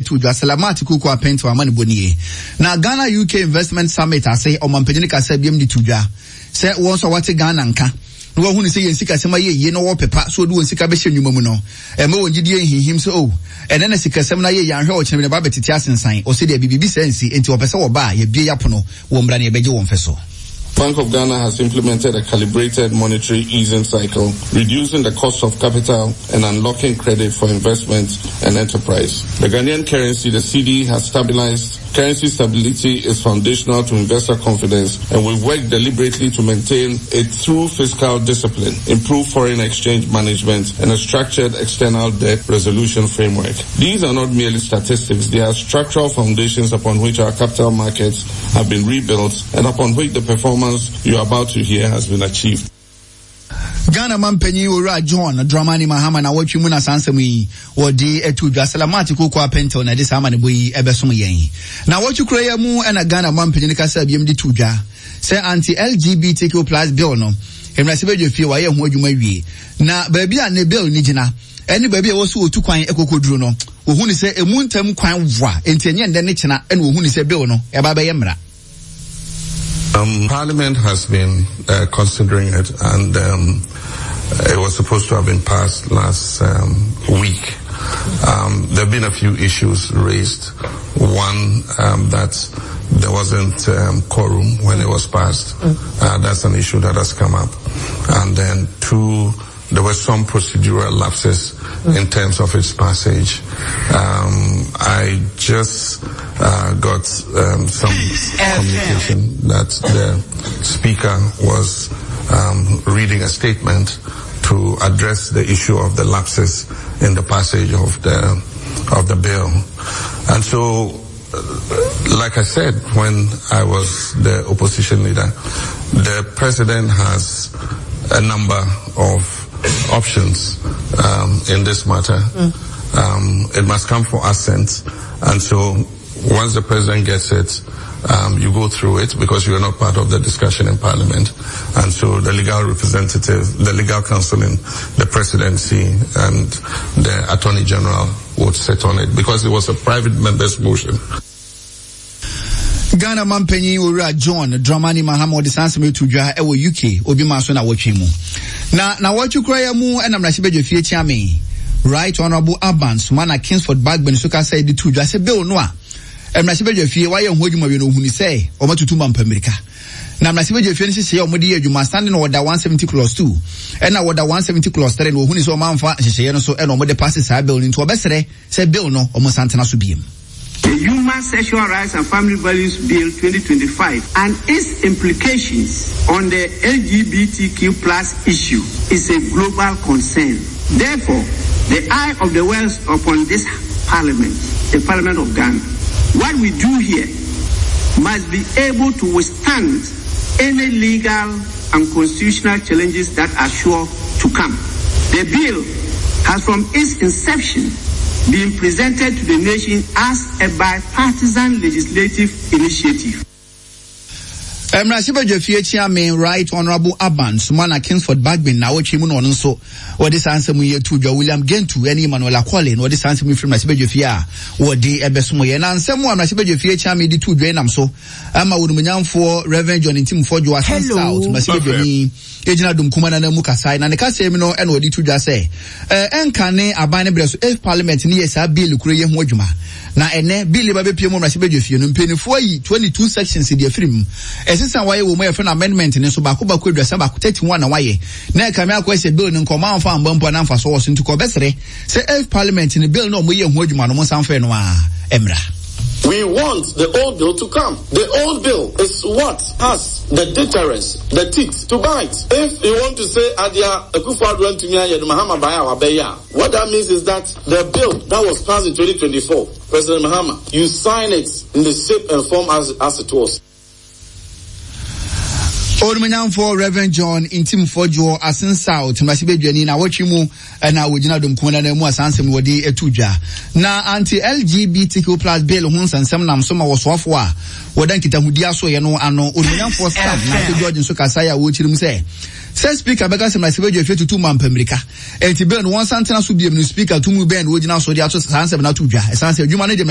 To dwa sɛ Lamart Kuku Apɛntew amanebɔ nie. Na Ghana UK Investment Summit ase ɔmampanyin kasa biam de to dwa sɛ wɔn nso a wɔate Ghana nka na wɔahu no sɛ yɛn sikasɛm ayɛ yie na wɔwɔ pɛ pa sɛ wɔde wɔn sika bɛhyɛ nnwuma mu no, ɛmma wɔn gyidie nhinhim sɛ oh, ɛnnɛ na sikasɛm no ayɛ yie, anhwɛ a ɔkyena bi na ɛba abɛtete asensan. Ɔse deɛ biribi saa nsi, enti wɔpɛ sɛ wɔba a, yɛabue yɛn apono, wɔmmra na yɛbɛgye wɔn fɛ so. Bank of Ghana has implemented a calibrated monetary easing cycle, reducing the cost of capital and unlocking credit for investment and enterprise. The Ghanaian currency, the cedi, has stabilized. Currency stability is foundational to investor confidence, and we've worked deliberately to maintain it through fiscal discipline, improved foreign exchange management, and a structured external debt resolution framework. These are not merely statistics, they are structural foundations upon which our capital markets have been rebuilt and upon which the performance you are about to hear has been achieved. Ghana mampanyin Owura John Dramani Mahama na wɔtwe mu na saa nsɛm yi wɔde ato dwa. Salamat Koko Apɛntɛw na ɛde saa amanebɔ yi ɛbɛsom yɛn. Na wɔtwe kura yi mu na Ghana mampanyin kasa biam de to dwa sɛ anti-LGBTQ plus bill no mmarahyɛbadwa fie wɔayɛ ho adwuma wie na baabi a ne bill no gyina ɛne baabi a ɛwɔ so wɔtu kwan kɔkɔduru no, wɔhu no sɛ ɛmu ntam kwan wa, enti ɛnyɛ nnɛ ne kyena ɛna wɔhu no sɛ bill no ɛba bɛyɛ mmara. Um, Parliament has been uh, considering it, and um, it was supposed to have been passed last um, week. Um, there have been a few issues raised. One, um, that there wasn't um, quorum when it was passed. Mm. Uh, that's an issue that has come up. And then two, there were some procedural lapses mm. in terms of its passage. Um, I just uh, got um, some communication that the speaker was um, reading a statement to address the issue of the lapses in the passage of the of the bill. And so like I said when I was the opposition leader, the president has a number of options um, in this matter. Mm. Um, it must come for assent. And so once the president gets it, um, you go through it because you are not part of the discussion in parliament. And so the legal representative, the legal counsel in the presidency and the attorney general would sit on it because it was a private member's motion. Ghana mampanyin Owura John Dramani Mahama ɔde saa nsɛm yi to dwa wɔ UK obi ma so na wɔtwe mu. Na na wɔtwe kura ya mu ɛna mmarahyɛbadwa fie kyeame Right Honourable Alban Sumana Kingsford Bagbin so kasa de to dwa sɛ bill no a mmarahyɛbadwa fie wayɛ ho adwuma wie no ohuni sɛ wɔatutu mampa mmirika. Na mmarahyɛbadwa fie no nhyehyɛeɛ a wɔde yɛ adwuma standing order 170 clause 2 ɛna order 170 clause 3 no wɔhuni sɛ wɔamfa nhyehyɛeɛ no so ɛna wɔde paase saa bill no nti wɔbɛsrɛ sɛ bill no wɔn nsa ntena so biem. The Human Sexual Rights and Family Values Bill 2025 and its implications on the LGBTQ plus issue is a global concern. Therefore, the eye of the world upon this parliament, the Parliament of Ghana. What we do here must be able to withstand any legal and constitutional challenges that are sure to come. The bill has from its inception been presented to the nation as a bipartisan legislative initiative. Mmarahyɛbadwafie Kyeame Right Honourable Alban Sumana Kingsford Bagbin naawɔtwe mu na ɔno nso wɔde saa nsɛm yi ato dwa. William Gentu ne Emmanuel Akɔle na wɔde saa nsɛm yi firi mmarahyɛbadwafie a wɔde ɛbɛsom yɛn. Na nsɛm a mmarahyɛbadwafie Kyeame de to dwa yi nam so ama onimonyamfoɔ Rev. John Ntim Fordjour Assin South mmarahyɛbadwani gyina dom kuma no ananmu kasae. Na ne kasa mu no na ɔde to dwa sɛ ɛnka ne aban no berɛ so if parliament no yɛ saa bill koro yi ho adwuma. Na ɛnɛ bill yi ba bɛpue mu mmarahyɛbadwa fie no, mpanimfoɔ ayi 22 sections de afiri mu. Ɛsesa a wɔayɛ wɔ mu a yɛfrɛ no amendment no nso baako baako 31, 31 na wɔayɛ. Na ɛkame akɔyɛ sɛ bill no nka wɔamfa amba mpo a na mfasoɔ wɔ so nti kɔbɛsrɛ sɛ if parliament no bill no a wɔyɛɛ ho adwuma no wɔnsan mfa ɛno ara mmra. We want the old bill to come. The old bill is what has the deterrence, the teeth to bite. If you want to say Adia Akufo-Addo antumi anyɛ no Mahama baeɛ a wabɛyɛ a, what that means is that the bill that was passed in 2024, President Mahama, you sign it in the shape and form as, as it was. Onumanyamfoɔ Rev. John Ntim Fordjour Asen South mmarahyɛbadwani na awɔtwe mu na wɔgyina dɔmkuo no anan mu a saa nsɛm no wɔde ato dwa. Na anti-LGBTQ plus bill ho nsɛnsɛm nam so ma wɔsoafoɔ a wɔda nkitahodi asoeɛ no ano Onumanyamfoɔ Sam Nartey George nso kasaeɛ a wɔrekyerɛ mu sɛ sɛ Speaker bɛka sɛ mmarahyɛbadwa fie tutu ma mpammirika enti bill no wɔnsan ntena so biom no Speaker tumi bɛn na wɔgyina so de ato saa nsɛm no ato dwa ɛsan sɛ adwuma no de.